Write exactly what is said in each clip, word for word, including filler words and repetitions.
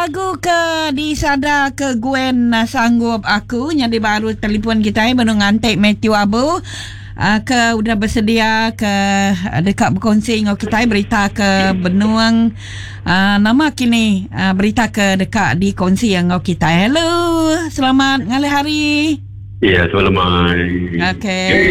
Lagu ke disada ke Gwen Sanggup Aku nyadi baru telefon kita benung ngantik Matthew Abu uh, ke udah bersedia ke dekat berkongsi dengan kita berita ke benuang uh, nama kini uh, berita ke dekat dikongsi dengan kita. Hello, selamat ngalih hari. Ya, selamat. Okey. Okay.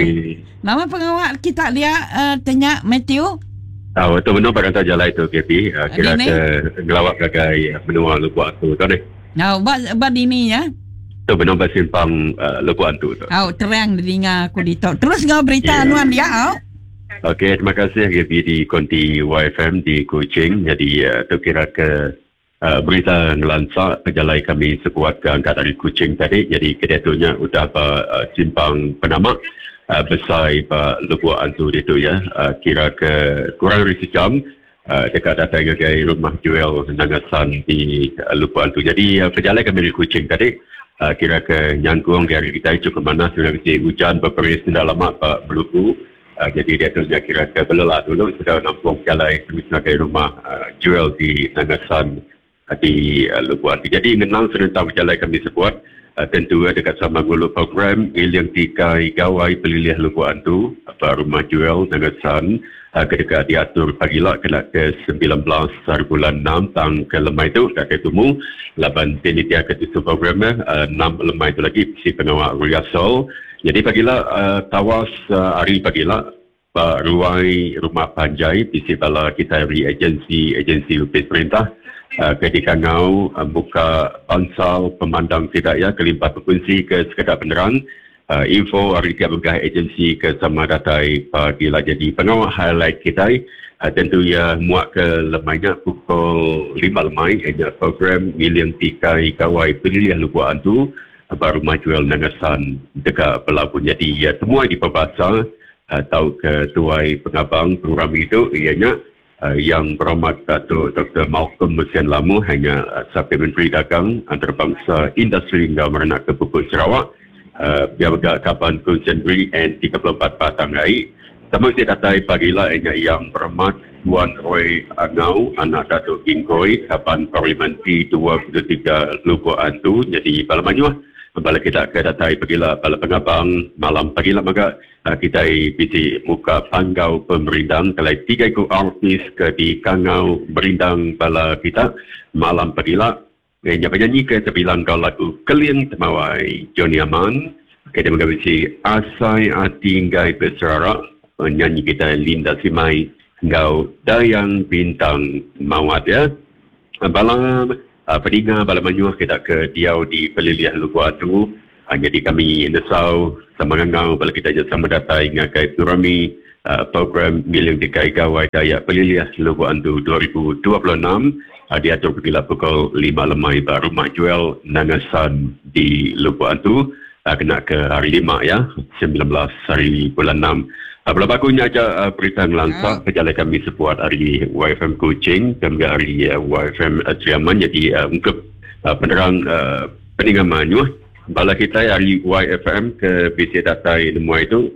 Nama pengawal kita dia uh, tanya Matthew. Ah, uh, betul benar pada jalan itu K P. Uh, kira ke gelawak gagai menua Lubuk Antu tu ni. Nah, ba ba dini ya. Tu benar bersimpang uh, Lubuk Antu tu. Oh, terang dinga aku di tok. Terus ngau berita yeah. Anuan dia au. Okey, terima kasih K P di Konti Y F M di Kuching. Jadi uh, tu kira ke uh, berita ngelansa pejalai kami sekuat ke angkat dari Kuching tadi. Jadi kediatunya udah uh, simpang penamak Uh, besar Pak Lubuk Antu itu ya, uh, kira ke kurang dari sejam uh, dekat datang ke rumah Joel Nangasan di uh, Lubuk Antu. Jadi uh, perjalanan kami dari Kuching tadi uh, kira ke nyangkung dari kita cukup mana sudah mesti hujan berperis tidak lama Pak Beluku. Uh, jadi dia tu dia kira ke belelah dulu sudah nampung jalan terus ke rumah uh, Joel di Nangasan uh, di uh, Lubuk Antu. Jadi mengenang serentak perjalanan kami sebuat. Uh, tentu uh, dekat sama gulu program Iliang Tikai Gawai Pelilih Lubuk Antu apa rumah Joel Nangasan uh, ketika diatur pagi lah kena ke sembilan belas hari bulan enam tang ke lemai tu dah ketemu laban penitia ke tu program uh, enam lemai tu lagi si pengawal Riasol. Jadi pagilah uh, tawas uh, hari pagilah Pak Ruai Rumah Panjai P C bala kita dari agensi agensi upis perintah Uh, ketika ngau uh, buka bansal pemandang tidak ya kelimpah berfungsi ke sekedar penerang uh, info hari tiap begah agensi ke sama datai pagi lah. Jadi pengawal highlight kita uh, tentu ya muak ke lemainya pukul lima lemai ada program Miliang Tikai Kawai Pelilih Lubuk Antu uh, baru Majuel Nangasan dekat Pelabun. Jadi ya semua di perbasa uh, tahu ke tuai pengabang program itu ianya Uh, yang berhormat Datuk Doktor Malcolm Mesian Lamu hanya uh, Sapir Menteri Dagang Antarabangsa Industri hingga Merenak ke Pupuk Sarawak uh, biar bergak kapan Kunsen Negeri N tiga puluh empat Batang Ai. Sama saya datai pagilah hanya yang berhormat Tuan Roy Angau anak Datuk Kingkoi kapan Parlimen P dua puluh tiga Lubuk Antu. Jadi bala manyuah bala kita ke datai pagilah bala pengabang malam pagilah maka uh, kita bisi muka panggau pemerindang kalau tiga ikut artis ke di kangau berindang bala kita malam pagilah eh, penyanyi ke terbilang kau lagu Keliang Temawai Johnny Aman kita mengabisi Asai Ati Nggai Beserara penyanyi kita Linda Simai ngau Dayang Bintang Mawat ya bala Uh, pendengar bala manyuah kita ke diau di Peliliah Lubuk Antu. Uh, jadi kami nesau sama ngangau bala kita je sama datai ngagai Turami uh, program Miliang Tikai Gawai Dayak Peliliah Lubuk Antu dua ribu dua puluh enam uh, diatur pukul pukul lima lemai ba rumah Joel Nangasan di Lubuk Antu uh, kena ke hari lima ya sembilan belas hari bulan enam. Uh, bala bakunya aja uh, berita ngelansak perjalanan kami sebuat hari Y F M Kuching dan juga hari uh, Y F M uh, Triaman. Jadi uh, untuk uh, penerang uh, peninggaman bala kita hari Y F M ke B C Datai Nemua itu